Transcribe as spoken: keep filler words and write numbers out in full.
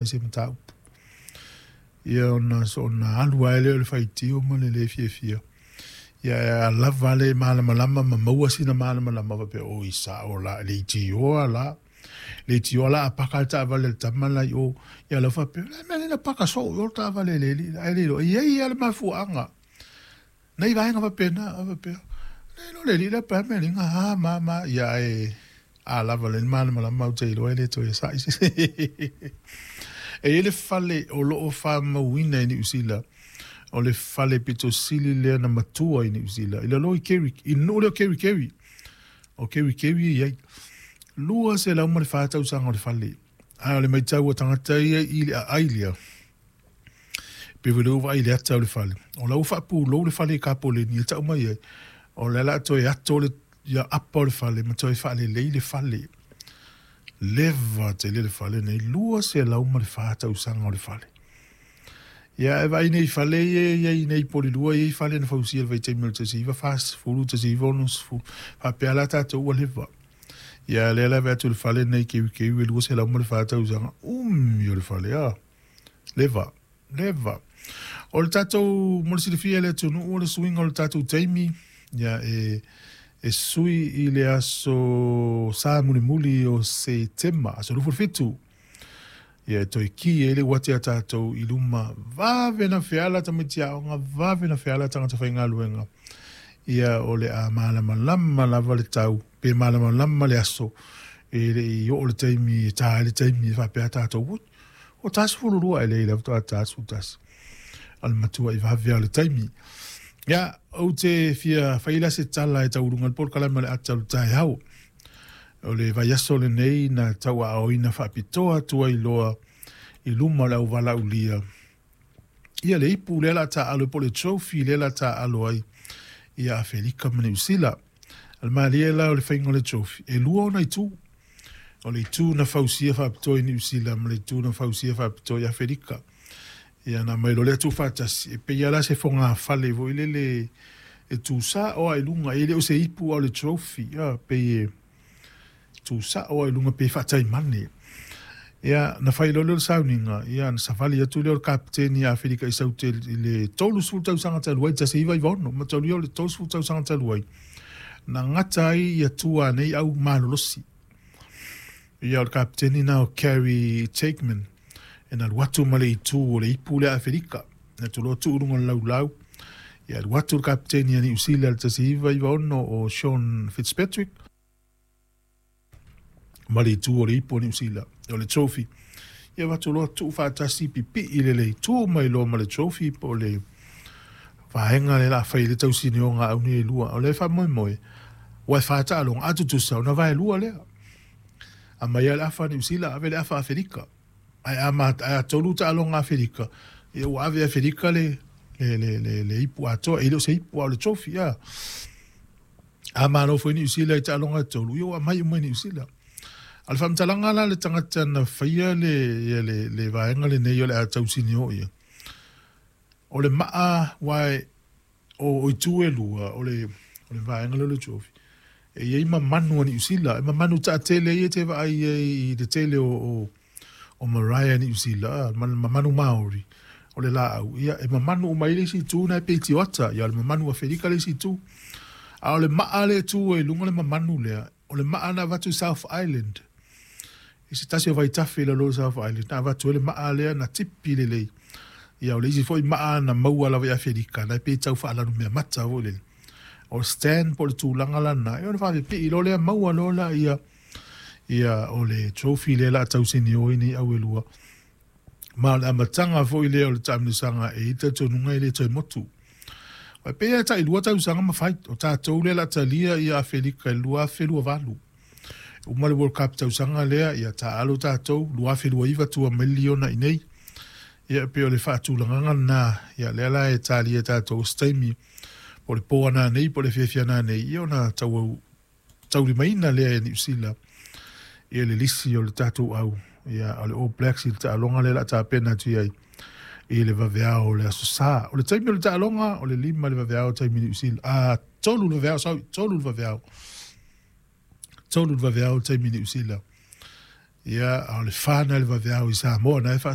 Se mataupu. Ia ona soona alu ai lea o le faitio ma le le fiafia. Ia a lava le malamalama ma maua sina malamalama faapea, oi, sao la, le itioa la. Le itioa la a paka le taavale a le tama la i o. Ia lau faapea, le mea lea na paka soo i o le taavale le alii la. Ai le iloa, e i ai lava le mafuaaga. Nai vaega faapena, a faapea, le iloa le alii la pe a mea liga, a ma ma, ia ae a lava le malamalama ou te iloa e le toe sa'i se. E i ai le fale o lo o faamauina i Niu Sila, o le fale pito sili lea na matua i Niu Sila, i lalo i Kerry, i le nuu lea o Kerikeri, o Kerikeri e i ai. Lua selau ma le fa tausaga o le fale, ae o le matau a tagata ia i le aai lea, pei foi lea ua vaai i le ata o le fale, o la ua faapulou le fale i kapoleni e tau mai ai, o lea o le a toe ato le ia apa o le fale ma toe faalelei le fale. Leva tele le fale nei, lua selau ma le fa tausaga o le fale. Ia e vaai nei i fale ia e i ai nei i Polilua, e i ai fale na fausia i le vaitaimi o le tasi iva fasefulu, tasi iva onosefulu, faapea la tatou ua leva. Ia lea la e vaai atu i le fale nei keukeu e lua selau ma le fa tausaga, umi o le fale, a, leva, leva. O le tatou, mo le silafia e le atunuu, o le suiga o le tatou taimi, ia e, e sui i le aso Sa mulimuli o Setema, aso luafulu fitu, ia e toe ki ai le uati a tatou i luma, vave na feala tamaiti aoga, vave na feala tagata faigaluega. Ia o le a malamalama lava le tau, pe malamalama le aso, e le i oo le taimi e ta ai le taimi e faapea tatou, ui, ua ta sefulu lua, e leai lava faatoa ta sefulu tasi. O le matua'i vave lava o le taimi. Ia, ou te fia fai la se tala e tauuluga i le polokalame o le ata o le taeao. O le vaiaso lenei na tauaaoina faapitoa atu ai loa i luma o le auvalaulia ia le ipu lea o le a taaalo ai po o le trophy lea o le a taaalo ai ia Afelika ma Niu Sila. O le malie la o le faiga o le trophy, e lua ona itu. O le itu na fausia faapitoa i Niu Sila ma le itu na fausia faapitoa i Afelika. Ia na aumai loa lea tuufaatasi, e pei lava la se fogafale foi lele e tusao lava i luga, e le o se ipu a o le trophy, a pei e tusao lava i luga pei e faataimane. Ia na fai loa lea o le sauniga, ia na savali atu lea o le kapeteni a Afelika i Saute i le tolusefulu tausaga talu ai, tasi iva iva ono, mataulia o le tolusefulu tausaga talu ai, na gata ai ia tua nei au malolosi. Ia o le kapeteni na o Kerry Takeman, e na alu atu ma le itu o le ipu lea a Afelika, na atu loa tuu i luga o le laulau, ia alu atu le kapeteni a Niu Sila i le tasi iva iva ono o Sean Fitzpatrick, ma le itu o le ipu o Niu Sila, o le trophy. Ia avatu loa tuu faatasi pipii lelei, tu mai loa ma le trophy po o le vaega lea o le a fai ai le tausinioga a au nei e lua. O lea e faamoemoe, ua e fa taaloga, a tutusa ona vaelua lea. Aumai lava le afa a Niu Sila, ave le afa a Afelika. Ae a ma, ae a tolu taaloga a Afelika, ia ua ave e Afelika le, le, le, le, le ipu atoa. E le o se ipu a o le trophy, a. A malo foi Niu Sila i taaloga e tolu, ia ua aumai uma i Niu Sila. A o le faamatalaga la a le tagata na faia le, ia le, le vaega lenei o le a tausinio ia, o le maa aua e, o, o itu e lua, o le, o le vaega lea o le trophy, e i ai mamanu a Niu Sila, e mamanu taatele ia e te vaai ai i le tele o, o, o marae a Niu Sila, mamanu Maori, o le laau, ia, e mamanu uma ai le isi itu na e pei tioata, ia o le mamanu Afelika le isi itu. A o le maa lea e tu ai i luga o le mamanu lea, o le maa na avatu i South Island, i se tasi o vaitafe i lalo o South Island, na avatu ai le maa lea na tipi lelei. Ia, o le isi foi maa na maua lava i Afelika, na e pei e tau faalanumeamata foi lele. O le stand po o le tulaga lena, ia ona faapipii loa lea maua loa laia, ia o le trophy lea o le a tausinio ai nei au e lua. Ma o le amataga foi lea o le taamilosaga e i ai le talitonuga e le toe motu. Aua e pei lava e tailua tausaga ma fai, o tatou lea o le a talia ia Afelika i le lua afe lua valu. E uma le World Cup tausaga lea, ia taaalo tatou, lua afe lua iva tua mai le liona i inei. Ia e pei o le faatulagaga lena, ia lea la e talia e tatou o se taimi, po o le po a nanei po o le afiafi a nanei, ia ona tau taulimaina lea e Niu Sila ia le lisi o le tatou au, ia o le All Blacks i le taaloga lea o le a tapena atu i ai i le vaveao o le Aso Sa. O le taimi o le taaloga, o le lima le vaveao taimi Niu Sila, a, tolu le vaveao, sorry, tolu le vaveao. Tolu le vaveao taimi Niu Sila. Ia, a o le fa na le vaveao i Samoa, na e faa